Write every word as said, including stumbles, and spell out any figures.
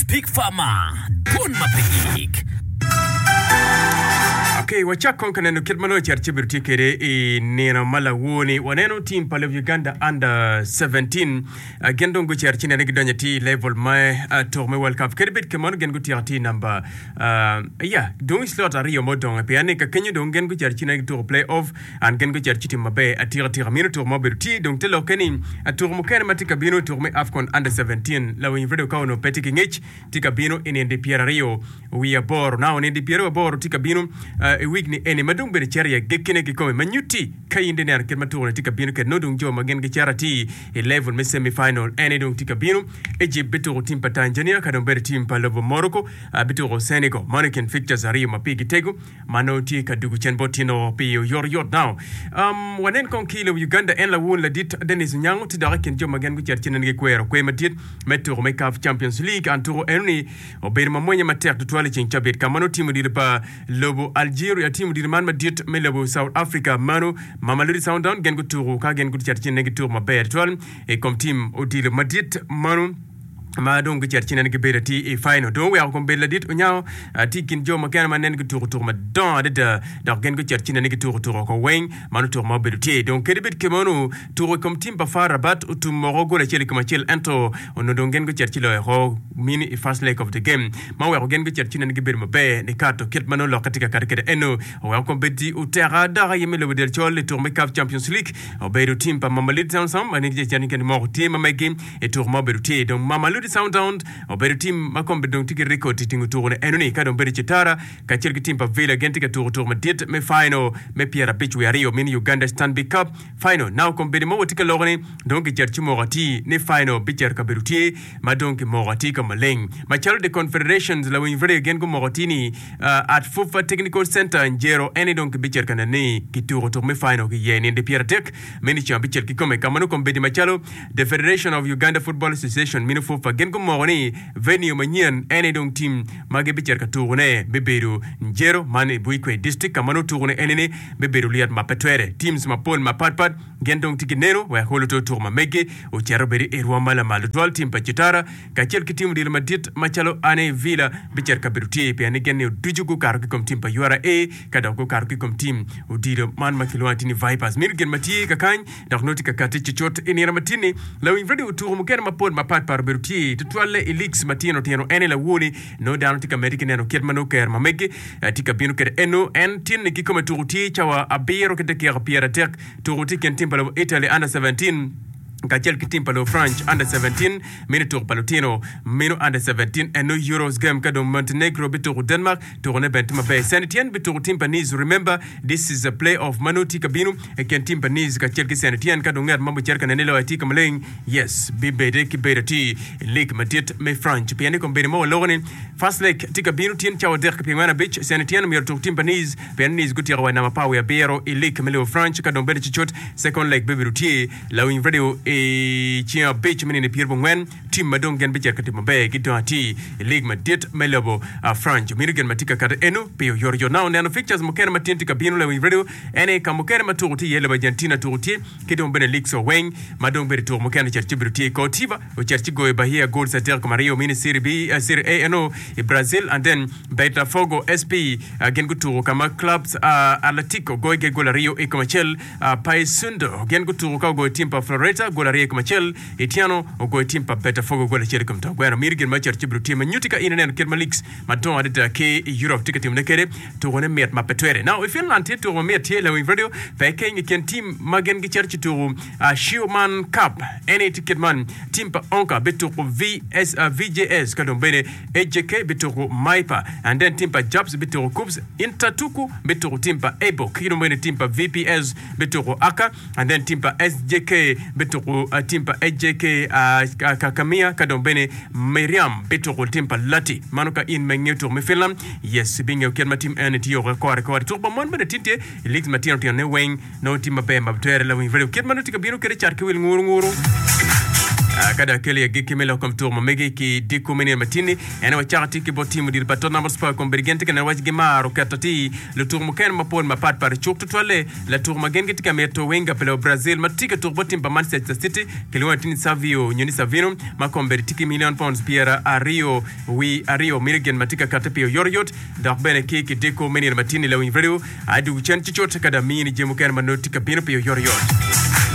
Big Pharma, dwon ma pe gik. Ok, wacak kong ka neno kit ma nongo cito ci bedo tye kwede i nino ma lawor-ni. Waneno tim pa lobo Uganda Under seventeen uh, gin dong gucito ci nene gidonyo atir i level me uh, tuko me World Cup. Kadi bed kemano gin gutyeko atir namba uh, ya dong i slot aryo ma odong pien ni ka kenyo dong gin gucito ci nene gituko play off and gin gucito ci timo maber atika atika. Mino tuko ma obedo tye dong te lokke ni uh, tuko mukene ma tye ka bino tuko me AFCON Under seventeen lawiny radio ka onongo pe tye ki ngec tye ka bino i nino pyeraryo wiye aboro. Now nino pyeraryo aboro tye ka bino uh, i week ni eni ma dong bene cito i agekkine kikome ma nyutti ka in di neno kit ma tuko-ni tye ka bino kwede nongo dong jo ma gin gicito atir i level me semi final eni dong tye ka bino. Egypt bituko tim pa Tanzania ka dong bedo tim pa lobo Morocco uh, bituko Senegal. Mano i kin fixtures aryo ma pigi tego ma nongo tye ka dugo cen bot tino pi oyotoyot. Now um, wanen kong ki i lobo Uganda en lawun ladit Dennis Onyango tye dok i kin jo ma gin gucito ci nene gikwero kwer madit me tuko me CAF Champions League. An tuko enoni obedo ma mwonya matek tutwal i ceng cabit ka ma nongo timo odilo pa lobo Algeria timo odilo man madit me lobo South Africa mano Mamelodi Sundowns gin gutuko ka gin gucito ci nene gituko maber tutwal i kom tim odilo madit mano ma dong gucito ci nene gibedo atir i final. Dong oweko kom bedo ladit Onyango tye i kin jo mukene ma nene gituko tuko madongo adada dok gin gucito ci nene gituko tuko oko weng mano tuko ma obedo tye. Dong kadi bed kemonu tuko i kom tim pa FAR Rabat otum moko gol acel i kom acel ento onongo dong gin gucito ci loyo oko mini i first leg of the game ma oweko gin gucito ci nene gibedo maber nikato kit ma nongo lokke tye ka kati kwede eno oweko kom bedi oteka dok aye me lobo del col i tuko me CAF Champions League obedo tim pa Mamelodi Sundowns ma nigi cen moko tye ma megi i tuko ma obedo tye. Dong Mamelodi Sundowns obedo tim ma kom dong tye ki record i tingo tuko ni enoni ka dong bedo Citara kacel ki tim pa Villa gin tye ka tuko tuko madit me final me pyerabic wiye aryo mini Uganda Stanbic Cup final. Now kom bedo ma watye ka loko ni dong kicito ci moko atir ni final bicito kabedo tye ma dong kimoko atir ka maleng macalo the Confederations lawiny radio gin gumoko atir ni uh, at FUFA Technical Center Njero eni dong kibicito ka neno ni kituko tuko me final ki iye nino pyeradek mini ceng abicel kikome ka ma nongo kom bedi macalo the Federation of Uganda Football Association mini FUFA gin gumoko ni venue manyen eni dong tim ma gibicito ka tukone bibedo Njero man i Buikwe District ka ma nongo tukone eni ni bibedo lyet ma pe twere. Teams mapol mapatpat gin dong tye ki neno wek olo to tuko ma megi ocito bedo i rwom ma lamal tutwal. Tim pa Citara kacel ki tim odilo madit macalo Ane Villa bicito kabedo tye pien ni gin ni ducu gukato ki kom tim pa U R A ka dok gukato ki kom tim odilo man ma kilwongo atir ni Vipers. Meno gin ma tye kakany dok nongo tye ka kati cucut i nino matin-ni. Lawiny radio otuko mukene mapol mapatpat obedo tye tutwalle i leagues matino tino ene lawoni nongo dano tye ka medde ki neno kit ma nongo ker ma megi tye ka bino kwede eno en tin-ni kikome tuko tye cawa abiro ki dakika pyeradek tuko tye i kin tim pa lobo Italy under seventeen kacel ki tim pa lobo France under seventeen meno tuko pa lutino meno under seventeen eno Euros game ka dong Montenegro bituko Denmark tukone bene tye maber. Saint Etienne bituko tim pa Nice. Remember this is a play off ma nongo tye ka bino i kin tim pa Nice kacel ki Saint Etienne ka dong ngat ma bicito ka nene loyo tye ka maleng yes bibede ki bedo atir i league madit me France pien ni kombeddi ma waloko ni first leg tye ka bino tyen cawa adek ki pyerangwen abic Saint Etienne myero otuk tim pa Nice pien Nice gutyeko wa i namba apar wiye abiro i league me lobo France ka dong bedo cucut second leg bibedo tye lawiny radio i ceng abic me nino pyerabongwen tim ma dong gin bicito ka timo maber gidong atir i league madit me lobo France meno gin ma tye ka kati eno pi oyotoyot. Now neno fixtures mukene ma tyen tye ka bino lawiny radio ene ka mukene ma tuko tye iye lobo Argentina tuko tye ki dong bene leagues weng ma dong bedo tuko mukene ocito ci bedo tye Coritiba ocito ci goyo Bahia goals adek kom aryo mini Serie B uh, Serie A eno i Brazil and then Botafogo S P uh, gin gutuko ka ma clubs uh, Atletico goyo ge gol aryo i kom acel uh, Paysandu gin gutuko ka ogoyo tim pa Floreta gol aryo i kom acel Itiano ogoyo tim pa Botafogo gol acel i kom to gweno miri gin ma ocito ci bedo tye ma nyutti ka in ineno kit ma leagues madongo adada ki i Europe tye ka timone kwede tukone mit ma pe twere. Now i Finland tye tuko ma mit tye lawiny radio pe keny i kin tim ma gin gicito ci tuko uh, Schumann Cup eni tye kit man tim pa Onka bituko V S, uh, V J S ka dong bene H J K bituko Maipa and then tim pa Japs bituko Kups Intertuku bituko tim pa Ebo ki dong bene tim pa V P S bituko Aka and then tim pa S J K bituko uh, tim pa H J K uh, Kakamia ka dong bene Miriam bituko tim pa Lati mano ka in me ngeyo tuko me Finland yes bingeyo kit ma tim eni tye oko kore kore tuko pa mon bene tin tye i leagues matino tino ne weng nongo tim maber ma twere lawiny radio kit ma nongo tye ka bino kwede cat ki wil nguru nguru Ah, Ka dok akelo i agikki me lok kom tuko ma megi ki diko me nino matini, en wacako tye ki bot tim odilo pa Tottenham Hotspur kombeddi gin tye ka neno waci gimaro keto atir lutuko mukene mapol mapat pat i cuk tutwalle latuko ma gin gitye ka mito winga pi lobo Brazil ma tye ka tuko bot tim pa Manchester City kilwongo atir ni Savio nyo ni Savino ma kombeddi tye ki milion pounds pyera aryo wi aryo mito gin ma tye ka katte pi oyotoyot dok bene ki kidiko me nino matini lawiny radio adwogo cen cucut ka dong amini jami mukene ma nongo tye ka bino pi oyotoyot.